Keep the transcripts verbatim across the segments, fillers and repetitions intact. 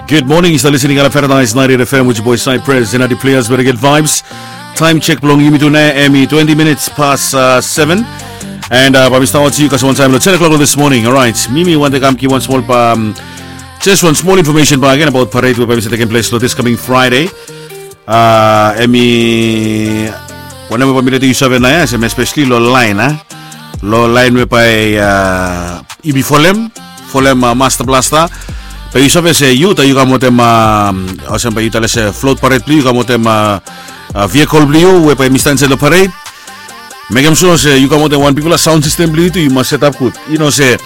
Good morning, yu stap listening ala Paradise ninety-eight F M with your boy Cypress and Adi Players, very good vibes. Time check bilong yumi tu nau em i twenty minutes past uh, seven. And uh, bai mi stap watching yu guys one time lo ten o'clock this morning. Alright, mi mi wante kam gi wan small um, just one small information back again about parade we bai mi sa taking place lo this coming Friday. Uh, em i wanem we bai mi lete yu save na ya, sem especially lo line, eh? Lo line we bai uh, yumi folem folem uh, Master Blaster. Bai yu save se yu ta yu kam wetem uh, olsem bai yu tale se float parade blo yu kam wetem uh, uh, vehicle blo yu we bai mi stand se lo parade. Mekem sure se yu kam wetem wan bigfala sound system blo yu tu yu mas set up gud. Yu no se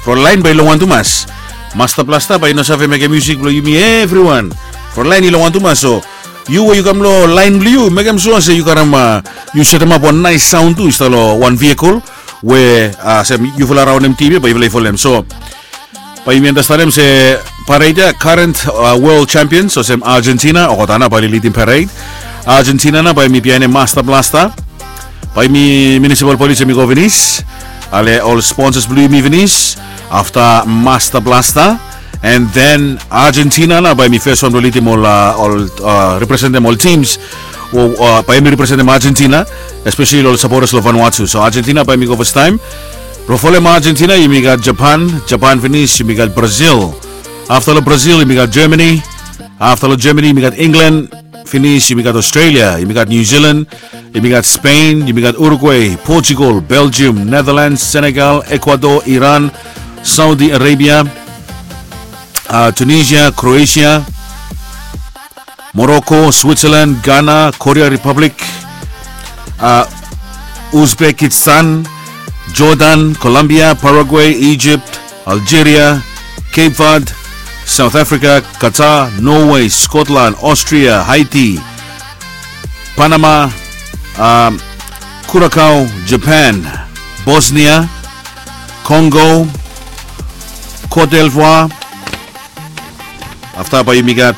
front line bai long wan tumas. Master Blaster bai no save mekem musik blo yumi everyone. Front line i long wan tumas so yu we yu kam lo line blo yu mekem sure se yu karim uh, yu setem ap wan nice sound tu i stap lo wan vehicle we uh, sem yufala raonem tim ya bai yufala i folem so bai yumi andastanem se parade ya current uh, world champions olsem Argentina olgeta na bai oli lidim parade. Argentina na bai mi bihainim Master Blaster. Bai mi municipal police em i go finis. Ale ol sponsors blo yumi finis. Afta Master Blaster. And then Argentina na bai mi first one blo lidim ol uh, ol uh, representim ol teams o uh, bai mi representim Argentina, especially ol supporters lo Vanuatu. So Argentina bai mi go first time. Blo folem Argentina yumi gat Japan. Japan finis yumi gat Brazil. Afta lo Brazil yumi gat Germany. Afta lo Germany yumi gat England. Finis yumi gat Australia, yumi gat New Zealand, yumi gat Spain, yumi gat Uruguay, Portugal, Belgium, Netherlands, Senegal, Ecuador, Iran, Saudi Arabia, uh, Tunisia, Croatia, Morocco, Switzerland, Ghana, Korea Republic, uh, Uzbekistan, Jordan, Colombia, Paraguay, Egypt, Algeria, Cape Verde, South Africa, Qatar, Norway, Scotland, Austria, Haiti, Panama, um, Curacao, Japan, Bosnia, Congo, Cote d'Ivoire. Afta bai yumi gat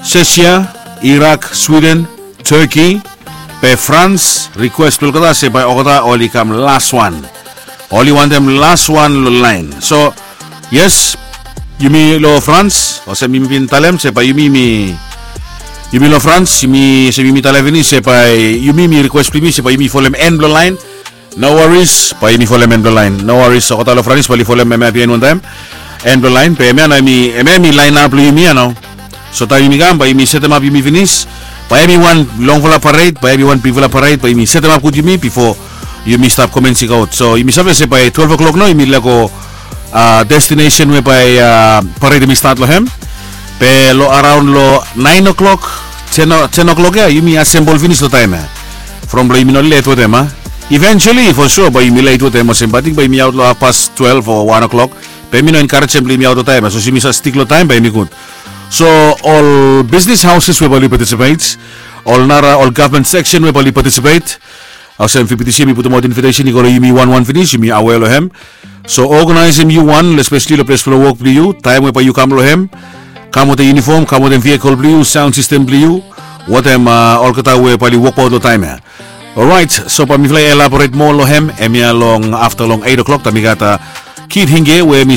Sesia, Irak, Sweden, Turkey, be France, request blo olgeta se bai olgeta oli kam las wan. Oli wantem las wan lo lain. So yes, yumi lo France olsem yumi bin talem se bai yumi mi yumi lo France yumi se yumi talem finis se bai yumi mi request blo yumi se bai yumi folem en blo lain. No worries, bai yumi folem en blo lain. No worries, olgeta lo France bai oli folem em ya bihain wantaem. En blo lain be em ya na em ya mi lain ap lo yumi ya nao. So taem yumi kam bai yumi setem ap yumi finis. Bai em i wan longfala parade, bai em i wan bigfala parade, bai yumi setem ap gud yumi bifo yumi stap komensik aut. So yumi save se bai twelve o'clock nao yumi lego uh, destination we bai uh, parade yumi stat lo hem. Be lo araon lo nine o'clock, ten o'clock ya yumi asembol finis lo taem ya. From blo yumi no let wetem a. Eventually for sure bai yumi let wetem olsem bai ting bai yumi aut lo half past twelve o one o'clock. Be mi no enkarejem blo yumi aut lo taem ya so yumi sa stik lo taem bai yumi gud. So ol business houses we bai oli participate, ol nara ol government section we bai oli participate. Olsem fifty C M i putumaot invitation i go long yumi wan wan finis, yumi aware long hem. So organizim yu wan, especially long ples blong wok blong yu, taem we bai yu kam long hem. Kam wetem uniform, kam wetem vehicle blong yu, sound system blong yu, wetem olgeta we bai oli wokbaot long taem ya. Orait, so bai mifala i elaborate moa long hem, hemia long afta long eight o'clock, taem i gat Kid Hinge we mi